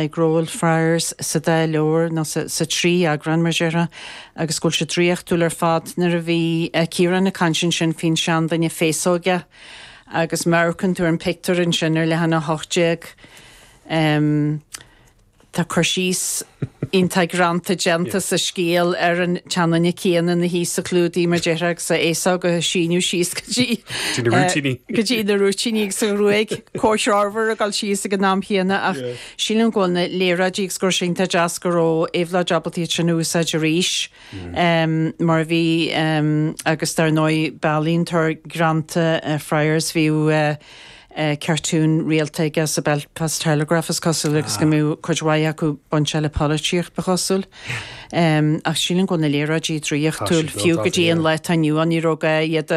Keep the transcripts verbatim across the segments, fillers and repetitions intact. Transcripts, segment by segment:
ag Friars sa dá leabhar nó sa, sa trí eagrán mar déarfá agus go bhfuil sé draíochtúil ar fad nuair a bhí Ciarán ag caint ansin faoin seanduine féasóige agus amharcann tú an pictiúr ansin ar leathanach a hocht déag. Um, Tá cur síos iontach greanta déanta sa scéal ar an tseanduine céanna na hí sa chlúdaigh mar déarfá agus a fhéasóg ag síneadh síos go dtí na go dtí na rúitíní agus an ghruaig comhthreomhar ag dul síos ag an am chéanna ach sílim go bhfuil na léaráidí agus gur sin tá deas go raibh Éabhlóid ábalta iad sin úsáid arís um, mar bhí um, agus dar ndóigh b'ealaíontóir greanta uh, Friars bhí uh, uh, cartún rialta aige sa Belfast Telegraph is cosúil agus go mbíodh cuid mhaith acu bainte le polaitíocht ba chosúil. Um, ach sílim go na léaráidí draíochtúil fiú go dtí an lá inniu ní raibh iad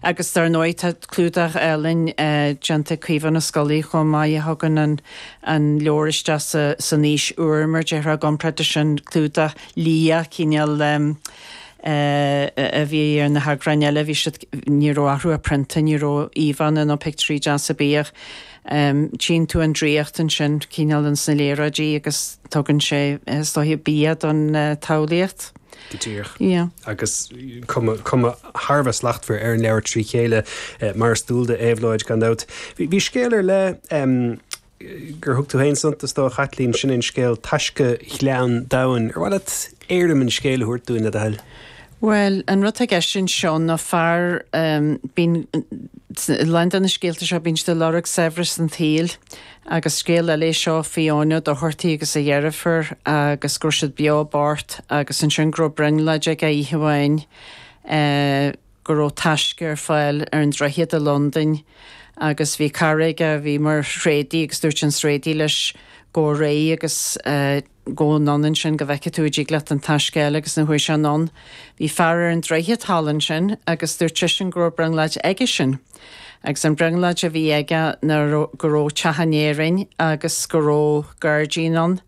agus dar ndóigh tá clúdach álainn uh, déanta Caoimhe Ó Scolaí chomh maith a thugann an, an leabhar isteach sa, san aois úr mar déarfá i gcomparáid sin clúdach liath cineál um, Uh, a bhí ar na heagráin eile bhí siad ní raibh athrú a prionta ní raibh íomhánna nó pictiúirí deasa bíodh. Um, Tchíonn tú an draíocht ansin cineál an sna léaráidí agus tugann sé is dóiche bia don uh, tsamhlaíocht. Go díreach. Yeah. agus cuma thar a bheith slachtmhar ar an leabhar trí chéile eh, mar is dual d'Éabhlóid gan dabht. Bhí scéal ar leith um, gur thug tú féin suntas dó a Chaitlín sin an scéal Taisce Ghleann Domhain. Ar mhaith leat éirim an scéil a thabhairt dúinn le do thoil. Well, an rud aige sin seo ná fear um, bíonn lán de na scéalta seo bíonn siad ag lorg saibhreas an tsaoil agus scéal eile seo faoi Eoin Ó Dochartaigh agus a dheirfiúr agus go raibh siad beo bocht agus ansin go raibh brionglóid aige oíche amháin uh, go raibh taisce ar fáil ar an droichead i Londain agus bhí cara aige a bhí mar thréadaí agus dúirt an tréadaí leis go réidh agus uh, gabh anonn ansin go bhfeicfidh tú dtig leat an taisce agus nuair a chuaigh sé anonn. Bhí fear ar an droichead thall ansin agus dúirt seisean go raibh brionglóid aige sin. Agus an brionglóid a bhí aige ná go raibh teach in Éirinn agus go raibh gairdín ann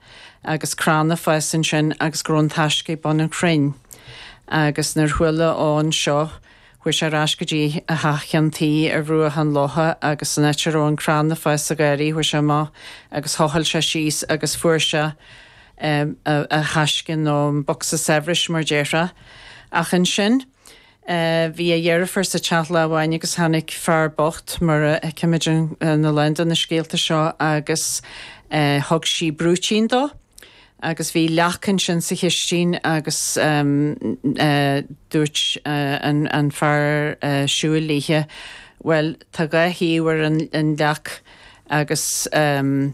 agus crann ag fás ansin agus go raibh an taisce ag bun an chrainn. Agus nuair a chuala Eoin seo, chuaigh sé ar ais go dtí a theach ceann tuí ar bhruach an locha agus san áit a raibh an crann ag fás sa gharraí chuaigh sé amach agus thochail sé síos agus fuair sé um, a, a thaisce nó an bocsa saibhris mar déarfá. Ach ansin, Uh, bhí a dheirfiúr sa teach lá amháin agus tháinig fear bocht mar a fheicimid na lán de na scéalta seo agus uh, thug sí brúitín dó. agus bhí leac ansin sa chistin agus um, uh, dúirt uh, an, an fear uh, siúil léithe, well tá dhá thaobh ar an, an leac agus um,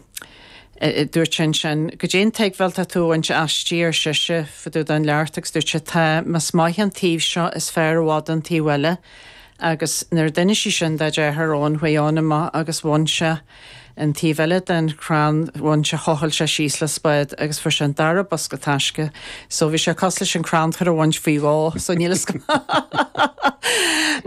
dúirt sin sin goidé an tuigbheáil atá tú ag baint aisti ar sise fá dtaobh den leac agus dúirt sé tá más maith an taobh seo is fearr i bhfad an taobh eile agus nuair a d'inis sí sin dá deartháir Eoin chuaigh Eoin amach agus bhain sé an taobh eile den chrann bhain sé thochail sé síos le spád agus fuair sé an dara bosca taisce, so bhí sé cosúil leis an crannchur a bhaint faoi dhó, so níl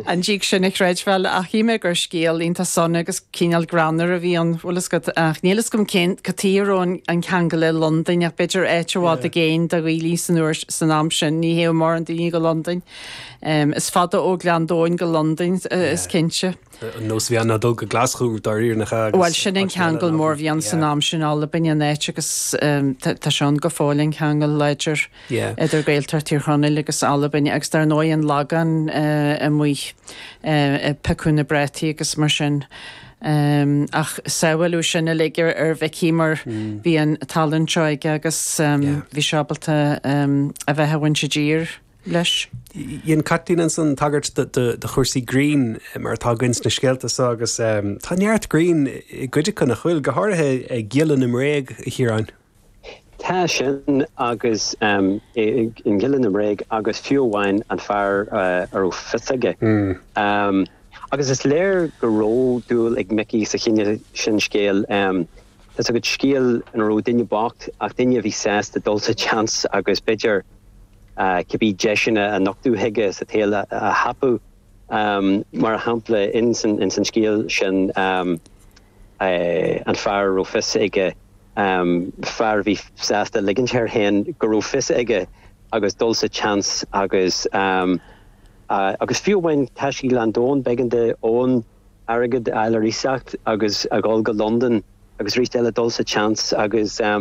an dtig sin a chreidbheáil ach shíl mé gur scéal iontach sona agus cineál greannmhar a bhí ann bhfuil a fhios agat ach níl a fhios agam cén cad chuige a raibh an ceangal le Londain ach b'fhéidir áit i bhfad i gcéin do dhaoine san uair san am sin ní théadh mórán daoine go Londain. Um, is fada ó Ghleann Domhain go Londain is cinnte. An nós bhí ná dul go Glaschú dáiríre nach Well sin an ceangal mór bhí ann san am sin Albain an áit agus um, tá sé ann go fóill an ceangal láidir idir Gaeltacht Thír Chonaill agus Albain agus dar ndóigh an Lagán uh, amuigh uh, piocadh na bprátaí agus mar sin. Um, ach sábháladh sin uilig ar ar Mhicí mar mm. bhí an tallann seo aige agus um, yeah. bhí sé ábalta um, a bheith ag baint i dtír leis. Dhein Caitlín ansan tagairt do chúrsaí grinn mar atá againn sna scéalta seo agus um, tá neart grinn i gcuid acu nach bhfuil go háirithe ag Giolla na mBréag a Chiaráin. Tá sin agus um, in Giolla na mBréag agus fiú amháin an fear uh, a raibh fios aige. Mm. Um, agus is léir go raibh dúil ag Micí sa chineál sin scéil um, Tá go scéal ina raibh duine bocht ach duine a bhí sásta dul sa tseans agus b'fhéidir uh, cibé deiseanna a nochtadh chuige sa tsaol a, a thapú um, mar shampla in san, in san scéal sin um, uh, an fear a raibh fios aige um, fear bhí sásta ligint air féin go raibh fios aige agus dul sa tseans agus um, uh, agus fiú amháin Taisce Ghleann Domhain b'éigean d'Eoin airgead a fháil ar iasacht agus a dhul go London agus arís eile dul sa tseans agus um,